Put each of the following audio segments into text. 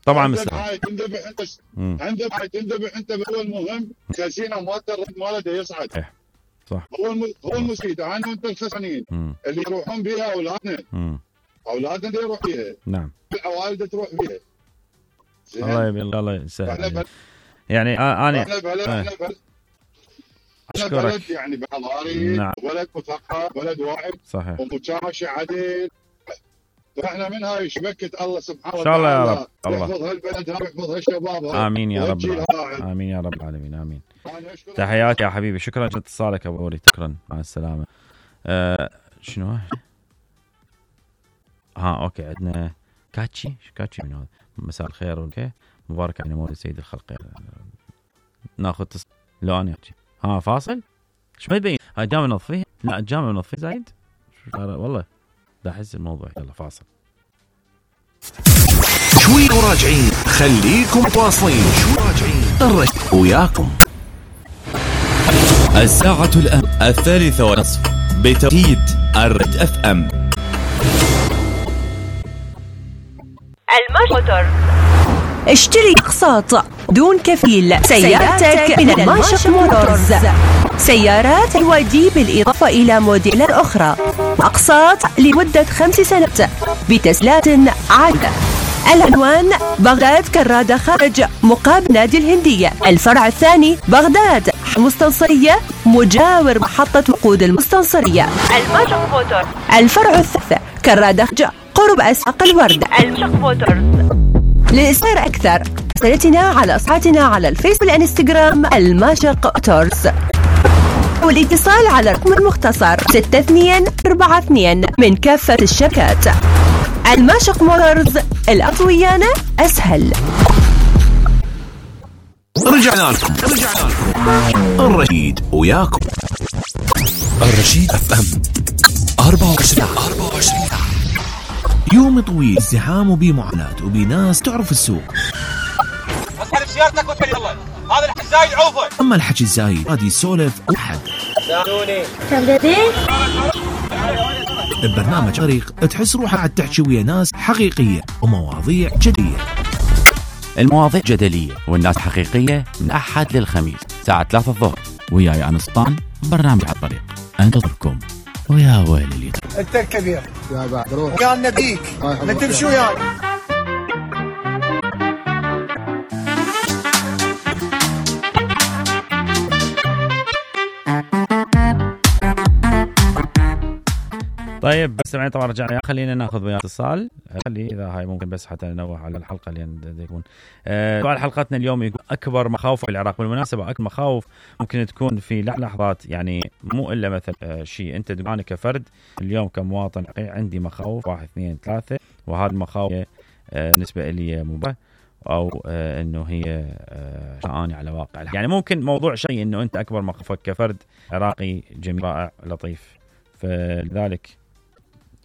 طبعا مسلم تندبح انت هو المهم كاسينا مالته الرد ماله يصعد. صح هو المفيد. انا وانت الخسرانين اللي يروحون بها اولادنا اللي يروح بها. نعم العوائل تروح بها. الله يسهل. يعني انا بلد يعني بحضاري. نعم. بلد مثقف، بلد واعي، صحيح، ومشاشة عدل. فاحنا من هاي شبكة الله سبحانه وتعالى ان شاء الله يا رب. الله يحفظ هالبلد ويحفظ هالشباب. امين يا رب العالمين. امين يا رب العالمين. امين. تحياتي يا حبيبي، شكرا لاتصالك ابو وليد، شكرا، مع السلامه. شنو اوكي، عندنا كاتشي من هذا. مساء الخير. اوكي، مبارك على مولد سيد الخلق. ناخذ لو انا فاصل. ايش ما يبين هاي جامعه نظفيه؟ لا الجامعه نظفيه زايد والله. ده احس الموضوع. يلا فاصل شوي وراجعين. خليكم متواصلين. شوي راجعين وياكم. الساعة الآن 3:30 بتوقيت الرد اف ام. الموتور. اشتري اقساط دون كفيل سيارتك من الماشق موتورز. سيارات الودي بالإضافة إلى موديلات أخرى. أقساط لمدة 5 سنوات بتسهيلات عادلة. العنوان بغداد كرادة خارج مقابل نادي الهندية. الفرع الثاني بغداد مستنصرية مجاور محطة وقود المستنصرية. الماشق موتور. الفرع الثالث كرادة قرب أسواق الورد. الماشق موتورز. للإصدار أكثر راسلتنا على صفحتنا على الفيسبوك والإنستغرام الماشق موتورز، والاتصال على الرقم المختصر 6242 من كافة الشركات. الماشق موتورز، الأطويانة أسهل. رجعنا لكم. الرشيد وياكم. الرشيد اف ام 24 يوم طويل، ازدحام وبمعاناة وبناس تعرف السوق. اسحب سيارتك وتفل يلا. هذا الحكي الزايد عوفه. اما الحكي الزايد هذه يسولف احد. سالوني ببرنامج طريق تحس روحك قاعد تحكي ويا ناس حقيقية ومواضيع جدية. المواضيع جدلية والناس حقيقية من أحد للخميس الساعة 3 الظهر. وياي أنا سلطان، برنامج على الطريق انتظركم. ويا ويلي اللي انت الكبير يا بعد روح يا نبيك نتمشي وياي. طيب بس سمعين طبعا رجعنا. خلينا ناخذ ويا اتصال. خلي اذا هاي ممكن بس حتى ننوه على الحلقه اللي يكون سؤال حلقتنا اليوم يقول اكبر مخاوف في العراق. بالمناسبه اكبر مخاوف ممكن تكون في لحظات، يعني مو الا مثلا شيء انت تقول انا كفرد اليوم كمواطن عندي مخاوف 1 2 3، وهذه المخاوف بالنسبه لي مباشره او انه هي شاني على واقع. يعني ممكن موضوع شيء انه انت اكبر مخاوفك كفرد عراقي جميل رائع لطيف. فلذلك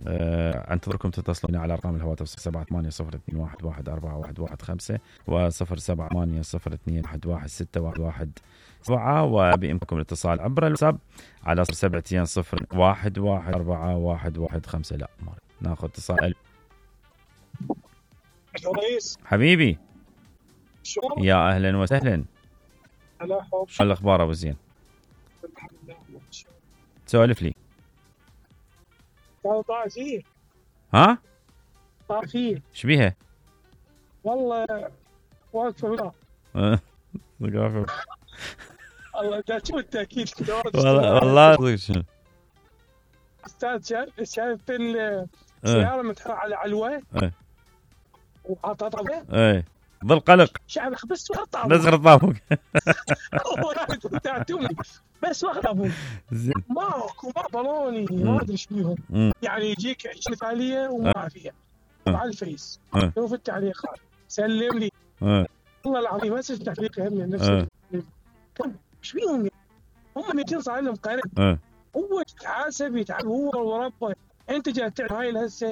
انتظركم تتصلون على ارقام الهواتف 078022114115 و0780211611. وبإمكانكم الاتصال عبر الواتساب على 0720114115. لا ناخذ اتصال. رئيس حبيبي شو يا اهلا وسهلا. شو الاخبار ابو زين؟ سولف لي. طاعتي ها طاعتي ايش بيها؟ والله واقفه ثقافه الله ده شو التاكيد والله شنو استاذ شايف السياره متحركه على علوه وحاططها ظل قلق شعب بس وقطع بس غرطابك بس وقطع ماكو بالوني ما ادري ايش بيهم. يعني يجيك مثاليه وما فيها على الفيس شوف التعليقات سلم لي والله العظيم بس التعليق هم نفسه ايش بيهم هم 200 صار لهم قرن. هو يتحاسب يتعب هو وربه. انت جاي تعمل هاي هسه